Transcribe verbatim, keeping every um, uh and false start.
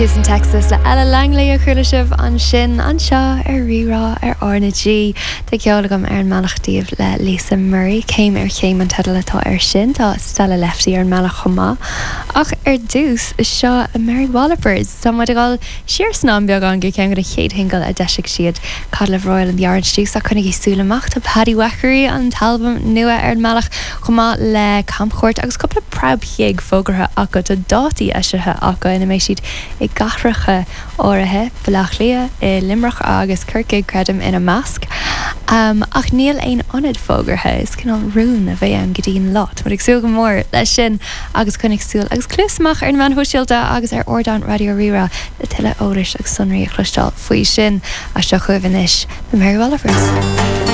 Peaches in Texas le Ella Langley a chuala sibh ansin anseo ar Rí-Rá ar R na G. Tá ceol agam ar an mbealach daoibh le Lisa Murray, céim ar chéim an teideal atá ar sin tá Stella Lefty ar an mbealach chomh maith. Ach ar dtús seo Mary Wallopers Tá muid ag dul siar san am beagán go ceann de na chéad shingil a d'eisigh siad Codliffe Royal and the Orange Juice a coinnigí súil amach tá Paddy Wackery an t-albam nua ar an mbealach chomh maith le Camchuairt agus cúpla preabghig fógartha acu tá dátaí eisithe acu ina mbeidh siad i gcathracha áirithe Baile Átha Cliath i Luimneach agus Corcaigh creidim ina measc. Um, ach níl aon ionad fógartha is cineál rún a bheidh ann go dtí'n lá. Tá ag súil go mór leis sin agus coinnigh súil agus cluas amach ar na meáin shóisialta agus ar ardán Raidió Rí-Rá le tuilleadh eolais agus sonraí a chloisteáil faoi sin a seo chugaibh anois na Mary Wallopers.